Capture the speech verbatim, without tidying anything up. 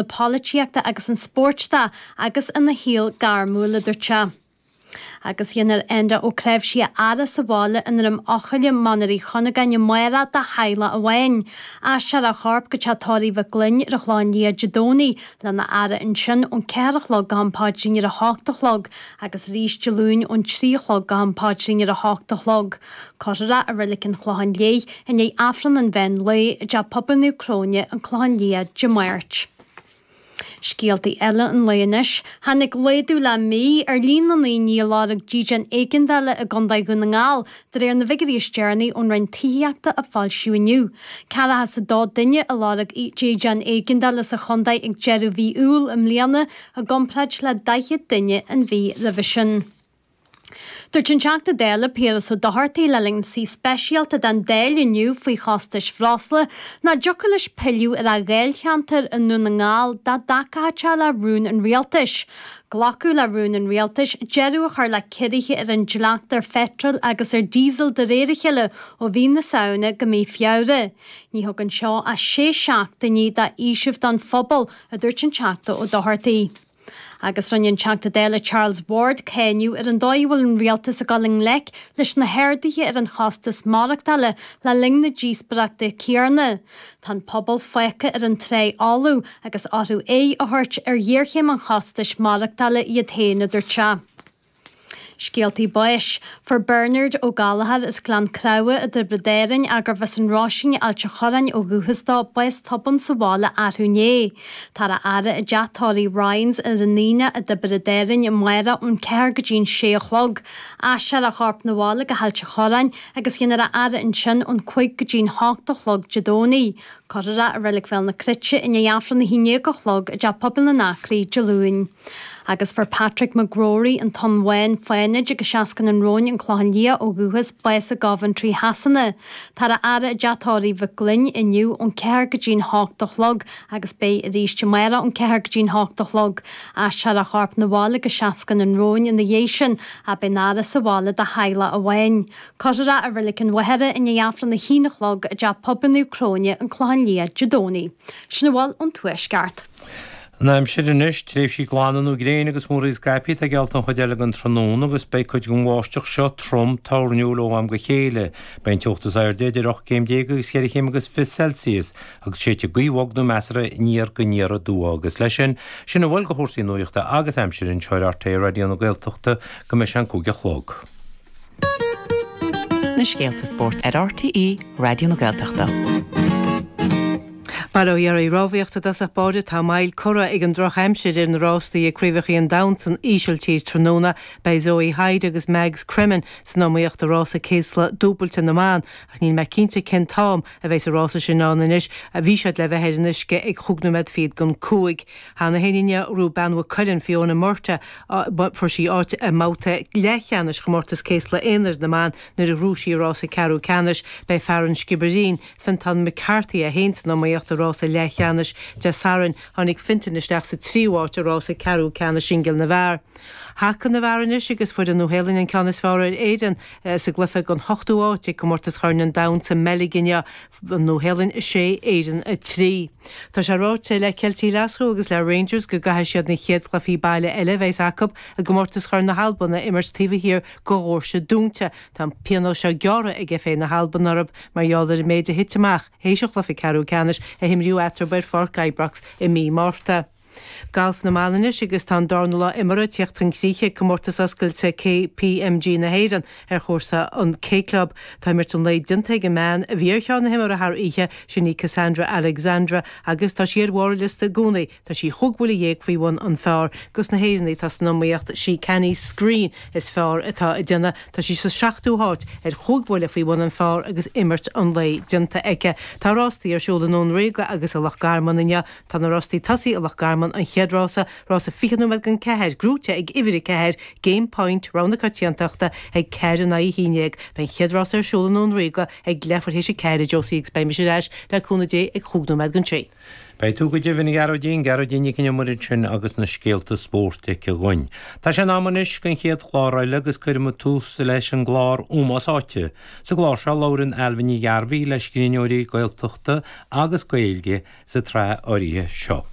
na polaitíochta agus an spóirt de agus ina shaol gairmiúil, a dúirt sé. Agus dhéanfar Enda Ó Cnáimhsí a fhaire sa bhaile i nDroim Eochaille, Mainéar Uí Chuinneagáin amárach dá theaghlach amháin. Aistreofar a chorp go teach tórraimh Mhic Gloinn ar an Chlochán Liath Dé Domhnaigh lena fhaire ansin ón ceathair a chlog go ham paidrín ar a hocht a chlog agus arís Dé Luain ón trí a chlog go ham paidrín ar a hocht a chlog. Cuirfear é i Reilig an Chlocháin Léith i ndiaidh Aifreann an mheán lae i dTeach Pobail Naomh Cróine, an Clochán Liath, Dé Máirt. Scéaltaí eile an lae anois. Tháinig laghdú le mí ar líon na ndaoine a lorg dídean éigeandála i gContae Dhún na nGall, de réir na bhfigiúirí is deireanaí ón Roinn Tithíochta a foilsíodh inniu. Ceathracha is a dó duine a lorg dídean éigeandála sa chontae ag deireadh mhí Iúil i mbliana, i gcomparáid le daichead duine an mhí roimhe sin. Dúirt an Teachta Dála Piaras Ó Dochartaigh le linn suí speisialta den Dáil inniu faoi chostais bhreosla nach dtiocfadh leis pilleadh ar a dháilcheantar i nDún na nGall dá dtacódh sé le rún an rialtais. Glacadh le rún an rialtais deireadh a chur le ciorruithe ar an dleacht ar pheitreal agus ar dhíosal de réir a chéile ó mhí na Samhna go mí Feabhra. Ní thugann seo ach sé seachtainí d'fhaoiseamh don phobal, a dúirt an Teachta Ó Dochartaigh. Agus rinne an Teachta Dála Charles Ward cáineadh ar an dóigh a bhfuil an rialtas ag dul i ngleic leis na harduithe ar an chostas maireachtála le linn na díospóireachta céanna. Tá an pobal fágtha ar an trá fholamh agus orthu aghaidh a thabhairt ar ghéarchéim an chostais maireachtála iad féin, a dúirt sé. Scéaltaí báis. Fuair Bernard Ó Gallchóir as Gleann Creamha i dTiobraid Árann, gurbh as an Róisín, Ailt an Chorráin ó dhúchas dó, bás tobann sa bhaile arú inné. Táthar á fhaire i dteach tórraimh Ryans ar an Aoine i dTiobraid Árann amárach ón ceathair go dtí an sé a chlog. Aistreofar a chorp 'na bhaile go hAilt an Chorráin agus dhéanfar a fhaire ansin ón cúig go dtí an hocht a chlog Dé Domhnaigh. Cuirfear é i Reilig Bhéal na Cruite i ndiaidh Aifreann a haon déag a chlog i dTeach Pobail na nAcraí Dé Luain. Agus fuair Patrick McGrory, an Tonn Bhán, Fánaid agus Seascann an Róin, An Clochán Liath ó dhúchas, bás i gCoventry Shasana. Táthar á fhaire i dteach tórraimh Mhic Gloinn inniu ón ceathair go dtí an hocht a chlog agus beidh arís amárach ón ceathair go dtí an hocht a chlog. Aistreofar a chorp 'na bhaile go Seascann an Róin ina dhiaidh sin, ach beidh an fhaire sa bhaile dá theaghlach amháin. Cuirfear é i Reilig an Mhachaire i ndiaidh Aifreann a haon a chlog i dTeach Pobail Naomh Cróine, An Clochán Liath, Dé Domhnaigh. Sin a bhfuil ón Tuaisceart. An aimsir anois, tréimhsí glana nó gréine agus múraíl scaipthe atá geallta an chuid eile den tráthnóna agus beidh cuid den bháisteach seo trom toirniúil ó am go chéile. Beidh an teocht is airde idir ocht gcéim déag agus cheithre chéim agus fiche Celsius agus séidfidh gaoth bhog nó measartha aniar go aniar aduaidh agus leis sin, sin a bhfuil de chúrsaí nuachta agus aimsire anseo ar RTÉ Raidió na Gaeltachta go mbeidh sé an cúig a chlog. Na scéalta spóirt ar RTÉ Raidió na Gaeltachta. Bail ó Dhia oraibh. Rámhaíocht i dtosach báire tá moill curtha ag an drochaimsir ar na rástaí ag Craobhacha an Domhain san Ísiltír tráthnóna. Beidh Zoe Hyde agus Mags Cremen san iomaíocht i rása céasla dúbailte na mban ach níl mé cinnte cén t-am a bheidh an rása sin ann anois. Bhí siad le bheith ar an uisce ag chúig nóiméad fichead don cúig. Cheana féin inné ghnóthaigh bean Mhaigh Cuilinn Fiona Murtagh fuair sí áit i mbabhta leathcheannais chomórtas céasla aonair na mban nuair a ghnóthaigh sí i rása ceathrú ceannais. Beidh fear an Sciobairín, Fintán McCarthy é féin san iomaíocht i rása leathcheannais Dé Sathairn. Tháinig Fintan isteach sa tríú háit i rása ceathrú ceannais singil na bhfear. Haca na bhfear anois agus fuair an Nua-Shéalainn an ceann is fearr ar Éirinn sa gcluiche don hochtú háit ag comórtas Chorn an Domhain sa mBeilg inniu, an Nua-Shéalainn a sé, Éirinn a trí. Tá sé ráite le Ceiltigh Ghlaschú agus le Rangers go gcaithfidh siad na chéad chluichí baile eile a bheas acu i gcomórtas Chorn na hAlban a imirt taobh thiar de dhoirse dúnta. Tá an pionós seo gearrtha ag FA na hAlban orthu mar gheall ar an méid a thit amach théis an chluiche ceathrú ceannais a himríodh eatarthu ar Pháirc Ibrox i mí Márta. Galf na mban anois agus tá an darna lá imeartha ag tíocht chun críche ag comórtas oscailte KPMG na hÉireann ar chúrsa an K Club. Tá imirt an lae déanta ag an mbean a bhí ar cheann na himeartha thar oíche, sin í Cassandra Alexandra agus tá sí ar bharr an liosta i gcónaí. Tá sí chúig bhuille dhéag faoi bhun an phar. Dos na hÉireannaigh atá san iomaíocht, sí Canny Screen is fearr atá ag déanamh. Tá sí sa seachtú háit ar chúig bhuille faoi bhun an phar agus imirt an lae déanta aici. Tá rástaí ar siúl i nDún Ríoga agus i Loch Garman inniu. Tá na rástaí tosaigh i Loch Garman, an chéad rása, rása fiche nóiméad don ceathair, gnóite ag uimhir a ceathair, Game Point, rogha na coitiantachta, ag ceathair in aghaidh a haon déag. Beidh an chéad rása ar siúl i nDún Ríoga ag leathuair théis a ceathair, a Josie, agus beidh mise ar ais le cúnamh Dé ag chúig nóiméad don sé. Beidh tú go deimhin, a Ghearóidín, Gearóidín Nic an Iomaire ansin agus na scéalta spóirt aici dhúinn. Tá sé in am anois don chéad chlár eile agus cuirfidh muid tús leis an gclár Ómós Áite. Sa gclár seo labhrann Ailbhe Ní Ghearbhuigh le scríbhneoirí Gaeltachta agus Gaeilge sa tsraith áirithe seo.